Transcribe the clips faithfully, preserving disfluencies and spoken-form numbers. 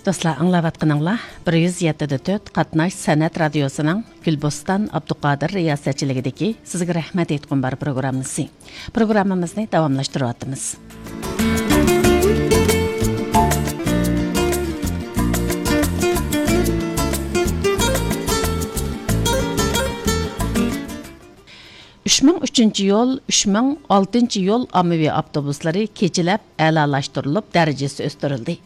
دوستلار، ئاڭلاۋاتقىنىڭلار بىر يۈز يەتتە دە تۆت قاتناش سەنئەت رادىيوسىنىڭ گۈلبوستان ئابدۇقادىر رىياسەتچىلىكىدىكى سىزگە رەھمەت ئېيتقۇم بار پروگراممىسى. پروگراممىمىزنى داۋاملاشتۇرۇۋاتىمىز. ئۈچ مىڭ ئۈچىنچى يول، ئۈچ مىڭ ئالتىنچى يول ئاممىۋى ئاپتوبۇسلىرى كېچىلەپ ئەلالاشتۇرۇلۇپ، دەرىجىسى ئۆستۈرۈلدى.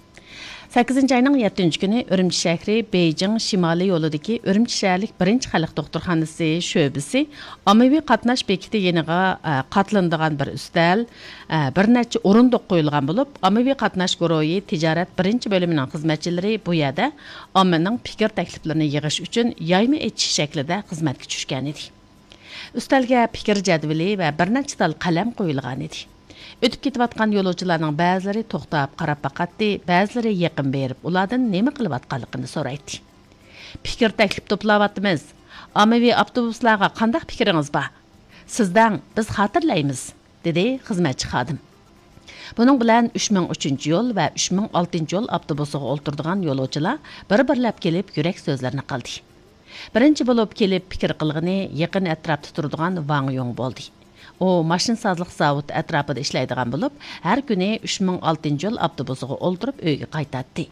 سەككىزىنچى ئاينىڭ يەتتىنچى كۈنى ئۈرۈمچى شەھىرى بېيجىڭ شىمالىي يولىدىكى ئۈرۈمچى شەھەرلىك بىرىنچى خەلق دوختۇرخانىسى شۆبىسى ئاممىۋى قاتناش بېكىتى يېنىغا، ئە، قاتلىنىدىغان بىر ئۈستەل، ئە، بىر نەچچە ئورۇندۇق قويۇلغان بولۇپ، ئاممىۋى قاتناش گۇرۇھى تىجارەت بىرىنچى بۆلۈمىنىڭ خىزمەتچىلىرى بۇ يەردە ئاممىنىڭ پىكىر تەكلىپلىرىنى يىغىش ئۈچۈن يايما ئېچىش شەكلىدە خىزمەتكە چۈشكەنىدى. ئۈستەلگە پىكىر جەدۋىلى ۋە بىر نەچچە تال قەلەم قويۇلغانىدى. ئۆتۈپ كېتىۋاتقان يولۇچىلارنىڭ بەزىلىرى توختاپ قاراپ باقاتتى، بەزىلىرى يېقىن بېرىپ ئۇلاردىن نېمە قىلىۋاتقانلىقىنى سورايتتى. «پىكىر تەكلىپ توپلاۋاتىمىز. ئاممىۋى ئاپتوبۇسلارغا قانداق پىكرىڭىز بار؟ سىز دەڭ، بىز خاتىرىلەيمىز»، دېدى خىزمەتچى خادىم. بۇنىڭ بىلەن ئۈچ مىڭ ئۈچىنچى يول ۋە ئۈچ مىڭ ئالتىنچى يول ئاپتوبۇسىغا ئولتۇرىدىغان يولۇچىلار بىر-بىرلەپ كېلىپ يۈرەك سۆزلىرىنى قىلدى. بىرىنچى بولۇپ كېلىپ پىكىر قىلغىنى يېقىن ئەتراپتا تۇرىدىغان ۋاڭ يۇڭ بولدى. ئۇ ماشىنىسازلىق زاۋۇتى ئەتراپىدا ئىشلەيدىغان بولۇپ، ھەر كۈنى ئۈچ مىڭ ئالتىنچى يول ئاپتوبۇسىغا ئولتۇرۇپ ئۆيىگە قايتاتتى.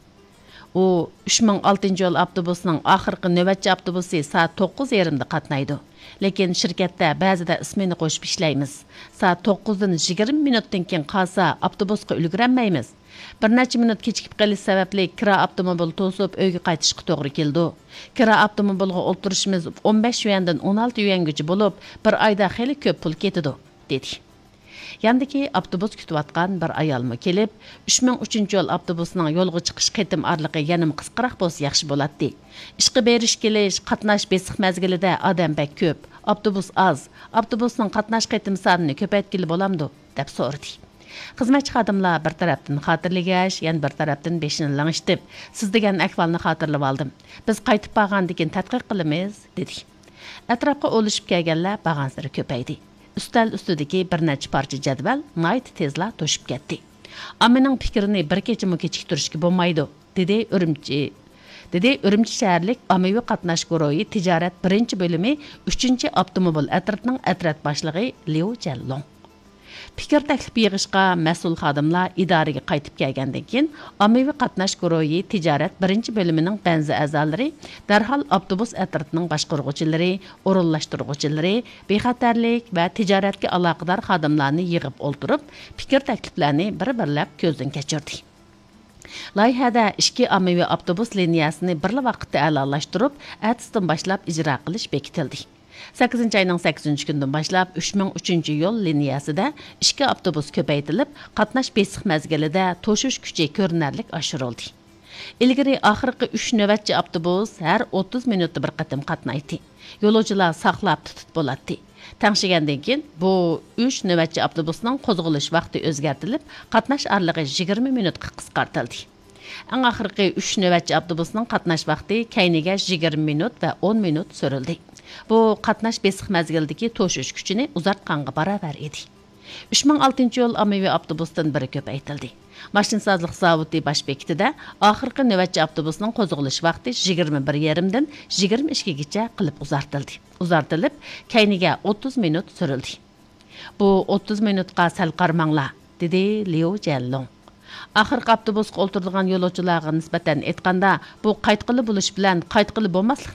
ئۇ، «ئۈچ مىڭ ئالتىنچى يول ئاپتوبۇسىنىڭ ئاخىرقى نۆۋەتچى ئاپتوبۇسى سائەت توققۇز يېرىمدا قاتنايدۇ. لېكىن شىركەتتە بەزىدە ئىسمېنا قوشۇپ ئىشلەيمىز. سائەت توققۇزدىن يىگىرمە مىنۇتتىن كېيىن قالسا، ئاپتوبۇسقا ئۈلگۈرەلمەيمىز. بىر نەچچە مىنۇت كېچىكىپ قېلىش سەۋەبلىك كىرا ئاپتوموبىل توسۇپ ئۆيگە قايتىشقا توغرا كېلىدۇ. كىرا ئاپتوموبىلغا ئولتۇرۇشىمىز ئون بەش يۈەندىن ئون ئالتە يۈەنگىچە بولۇپ، بىر ئايدا خېلى كۆپ پۇل كېتىدۇ»، دېدى. ياندىكى ئاپتوبۇس كۈتۈۋاتقان بىر ئايالمۇ كېلىپ، «ئۈچ مىڭ ئۈچىنچى يول ئاپتوبۇسىنىڭ يولغا چىقىش قېتىم ئارىلىقى يەنىمۇ قىسقىراق بولسا ياخشى بولاتتى. ئىشقا بېرىش كېلىش، قاتناش بېسىق مەزگىلىدە ئادەم بەك كۆپ، ئاپتوبۇس ئاز، ئاپتوبۇسنىڭ قاتناش قېتىم سانىنى كۆپەيتكىلى بولامدۇ؟» دەپ سورىدى. خىزمەتچى خادىملار بىر تەرەپتىن خاتىرىلىگەچ، يەنە بىر تەرەپتىن بېشىنى لىڭشىتىپ، «سىز دېگەن ئەھۋالنى خاتىرىلىۋالدىم. بىز قايتىپ بارغاندىن كېيىن تەتقىق قىلىمىز» دېدى. ئەتراپقا ئولىشىپ كەلگەنلەر بارغانسېرى كۆپەيدى. ئۈستەل ئۈستىدىكى بىر نەچچە پارچە جەدۋەل ناھايىتى تېزلا توشۇپ كەتتى. «ئاممىنىڭ پىكرىنى بىر كېچىمۇ كېچىكتۈرۈشكە بولمايدۇ»، دېدى ئۈرۈمچى، دېدى ئۈرۈمچى شەھەرلىك ئاممىۋى قاتناش گۇرۇھى تىجارەت بىرىنچى بۆلۈمى ئۈچىنچى ئاپتوموبىل ئەترىتىنىڭ ئەترەت باشلىقى ليۇ جيەنلۇڭ. پىكىر تەكلىپ يىغىشقا مەسئۇل خادىملار ئىدارىگە قايتىپ كەلگەندىن كېيىن، ئاممىۋى قاتناش گۇرۇھى تىجارەت بىرىنچى بۆلۈمىنىڭ بەنزى ئەزالىرى دەرھال ئاپتوبۇس ئەترىتىنىڭ باشقۇرغۇچىلىرى، ئورۇنلاشتۇرغۇچىلىرى، بىخەتەرلىك ۋە تىجارەتكە ئالاقىدار خادىملارنى يىغىپ ئولتۇرۇپ، پىكىر تەكلىپلەرنى بىر-بىرلەپ كۆزدىن كەچۈردى. لايىھەدە ئىككى ئاممىۋى ئاپتوبۇس لىنىيەسىنى بىرلا ۋاقىتتا ئەلالاشتۇرۇپ، ئەتىسىدىن باشلاپ ئىجرا قىلىش بېكىتىلدى. سەككىزىنچى ئاينىڭ سەككىزىنچى كۈنىدىن باشلاپ ئۈچ مىڭ ئۈچىنچى يول لىنىيەسىدە ئىككى ئاپتوبۇس كۆپەيتىلىپ، قاتناش بېسىق مەزگىلىدە توشۇش كۈچى كۆرۈنەرلىك ئاشۇرۇلدى. ئىلگىرى ئاخىرقى ئۈچ نۆۋەتچى ئاپتوبۇس ھەر ئوتتۇز مىنۇتتا بىر قېتىم قاتنايتتى. يولۇچىلار ساقلاپ تۇتۇپ بولاتتى. تەڭشىگەندىن كېيىن، بۇ ئۈچ نۆۋەتچى ئاپتوبۇسنىڭ قوزغىلىش ۋاقتى ئۆزگەرتىلىپ، قاتناش ئارىلىقى يىگىرمە مىنۇتقا قىسقارتىلدى. ئەڭ ئاخىرقى ئۈچ نۆۋەتچى ئاپتوبۇسنىڭ قاتناش ۋاقتى كەينىگە يىگىرمە مىنۇت ۋە ئون مىنۇت سۈرۈلدى. بۇ قاتناش بېسىق مەزگىلىدىكى توشۇش كۈچىنى ئۇزارتقانغا باراۋەر ئىدى. ئۈچ مىڭ ئالتىنچى يول ئاممىۋى ئاپتوبۇستىن بىرى كۆپەيتىلدى. ماشىنىسازلىق زاۋۇتى باش بېكىتىدە ئاخىرقى نۆۋەتچى ئاپتوبۇسنىڭ قوزغىلىش ۋاقتى يىگىرمە بىر يېرىمدىن يىگىرمە ئىككىگىچە قىلىپ ئۇزارتىلدى. ئۇزارتىلىپ، كەينىگە ئوتتۇز مىنۇت سۈرۈلدى. «بۇ ئوتتۇز مىنۇتقا سەل قارىماڭلار»، دېدى ليۇ جيەنلۇڭ. ئاخىرقى ئاپتوبۇسقا ئولتۇرىدىغان يولۇچىلارغا نىسبەتەن ئېيتقاندا، بۇ قايتقىلى بولۇش بىلەن قايتقىلى بولماسلىق